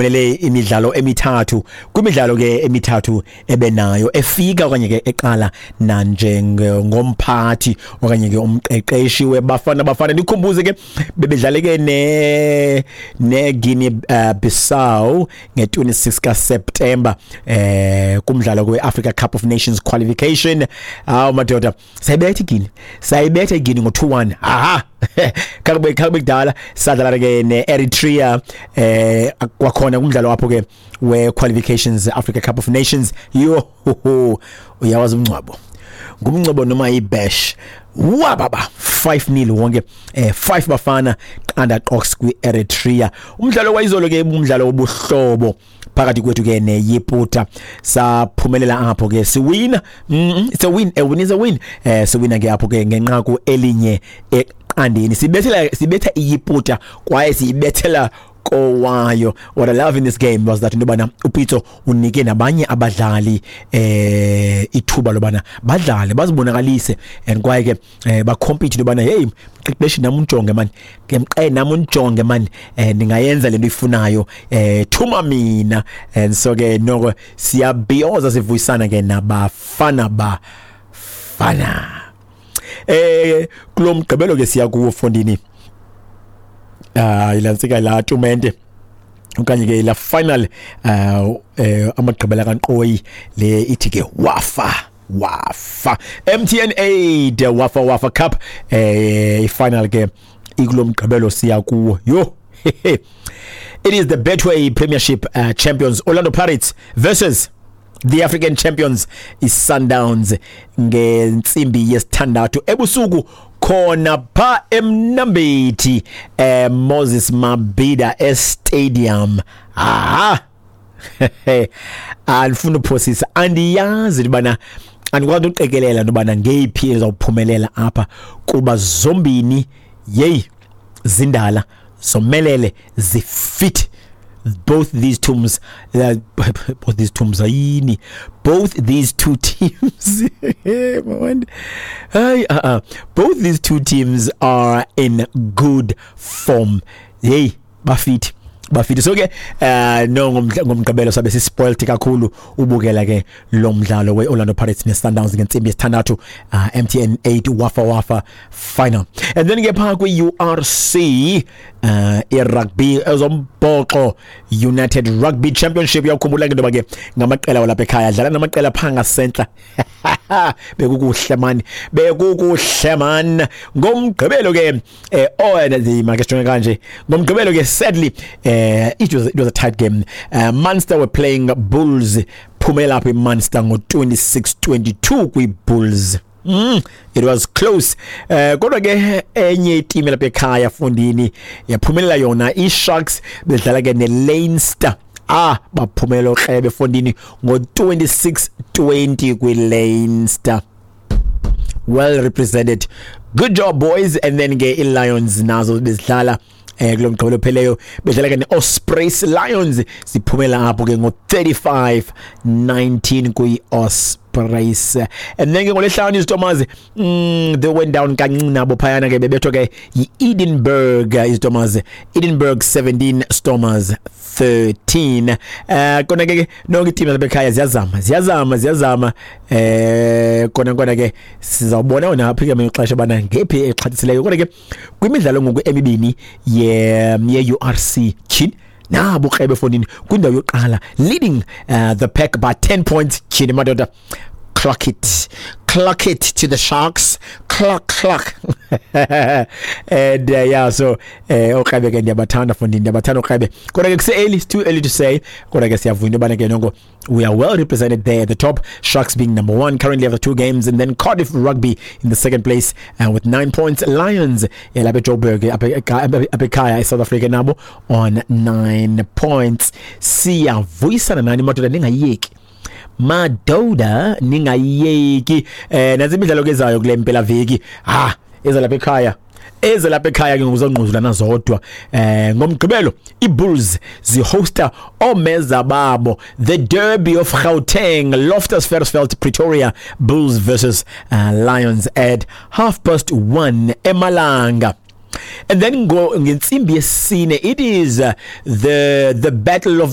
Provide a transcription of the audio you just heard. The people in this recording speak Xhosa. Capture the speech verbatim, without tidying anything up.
Uphumelele imidlalo emithathu kwimidlalo ke emithathu ebenayo efika okanye ke eqala nanjengomphathi okanye ke umqeqeshi weBafana Bafana. Ndikhumbuze ke bebedlale ke ne ne Guinea uh, Bissau nge-twenty-six kaSeptember eh kumdlalo kwe-Africa Cup of Nations qualification. Awu madoda, sayibetha iGuinea, sayibetha iGuinea ngo-two one. Aha, kakube kakube kudala sadlala ke ne-Eritrea eh kwakhona kumdlalo apho ke we-qualifications Africa Cup of Nations. Yo, uyawazi umncwabo ngumncwabo noma ibash wababa five nil wonke, eh five Bafana qanda qox kwi-Eritrea. Umdlalo wayizolo ke umdlalo wobuhlobo phakathi kwethu ke neYiputa, saphumelela apho ke siwina. mm, it's a win, a win is a win. eh siwina ke apho ke ngenqaku elinye eqandeni, sibethela sibetha iYiputa kwaye siyibethela kowayo. What I love in this game was that into yobana uPitso unike nabanye abadlali eh ithuba lobana badlale, bazibonakalise and kwaye ke eh, bacompete into yobana, "Hey mqeqeshi, nami unjonge man, ke mqe nami unjonge man, eh ningayenza lento ifunayo, eh thuma mina." And so ke noko siyabhiyoza, sivuyisana ke nabafana bafana. eh kulomgqibelo ke siya kuwo fondini, ah ilantsika la tumente okanye ke la final uh eh amagqibela kaNqoyi le ithi ke Wafa Wafa M T N eight Wafa Wafa Cup. eh ifinal ke ikulomgqibelo siya kuwo. Yo, it is the Betway Premiership uh, champions Orlando Pirates versus the African champions iSundowns ngentsimbi yesithandathu ebusuku khona pha eMnambithi, eh Moses Mabhida Stadium. Aha, andifuna uphosisa, andiyazi ubana andikwazi uqikelela nobana ngeyiphi ezawuphumelela apha kuba zombini yeyi zindala, zomelele, zifit. Both these teams, uh, both these teams ayini, both these two teams, man, hey, uh, uh, both these two teams are in good form. Hey, bafit, bafit. So ke eh no ngomgqibelo sabe sispoiled kakhulu ubukela ke lo mdlalo weOrlando Pirates neSundowns ngentsimbi yesithandathu, uh, M T N eight Wafa Wafa final. And then ke pha kwi U R C, uh irugby ezombhoxo, United Rugby Championship, uyakhumbula ke ndoba ke ngamaqela walapha ekhaya dlala namaqela pha ngasentla. Bekukuhle man, bekukuhle man ngomgqibelo ke. eh oh make sijonge kanje ngomgqibelo ke, sadly eh it was it was a tight game. uh, Munster were playing Bulls, phumela apha iMunster ngo twenty-six twenty-two kwi-Bulls. Mm, it was close. Eh kodwa ke enye iteam lapha ekhaya fundini yaphumelela yona, iSharks bedlala ke neLeinster. Ah, baphumelela okrebe fondini ngo twenty-six twenty kwiLeinster. Well represented. Good job, boys. And then ke iLions nazo bezidlala eh kulo mgqibelo pheleyo, bedlala ke neOspreys. Lions siphumela apho ke ngo thirty-five nineteen kwi-Ospreys. And then ke ngolesihlanu iStormers, mm, they went down kancinci nabo phayana ke, bebethwa ke yi-Edinburgh iStormers, Edinburgh seventeen, Stormers thirteen. eh kona ke nonke iteam labekhaya ziyazama, ziyazama, ziyazama. eh kona kona ke sizawubona wona apha ke ixesha bana ngephi exhathisileyo. Kodwa ke kwimidlalo ngoku emibini ye ye U R C, tyhini nabo krebe fondini kwindawo yokuqala, leading uh, the pack by ten points. Tyhini madoda, clock it, clock it to the Sharks, clock, clock. And uh, yeah, so eh okrebe ke ndiyabathanda fondini, ndiyabathanda okrebe. Kodwa ke kuse early, it's too early to say. Kodwa ke siyavuya into yobana ke noko we are well represented there at the top, Sharks being number one currently after two games, and then Cardiff Rugby in the second place uh, with nine points. Lions yalapha eJoburg, apha ekhaya eSouth Africa, nabo on nine points. Siyavuyisana nani madoda, ningayeki madoda, ningayeki. eh nazi imidlalo kezayo kule mpela veki. Ah, eza lapha ekhaya, eze lapha ekhaya ke ngokuzongquzulana zodwa. eh ngomgqibelo iBulls zihosta omeza babo, the Derby of Gauteng, Loftus Versfeld, Pretoria, Bulls versus uh, Lions at half past one emalanga. And then ngo ngentsimbi yesine, it is uh, the the battle of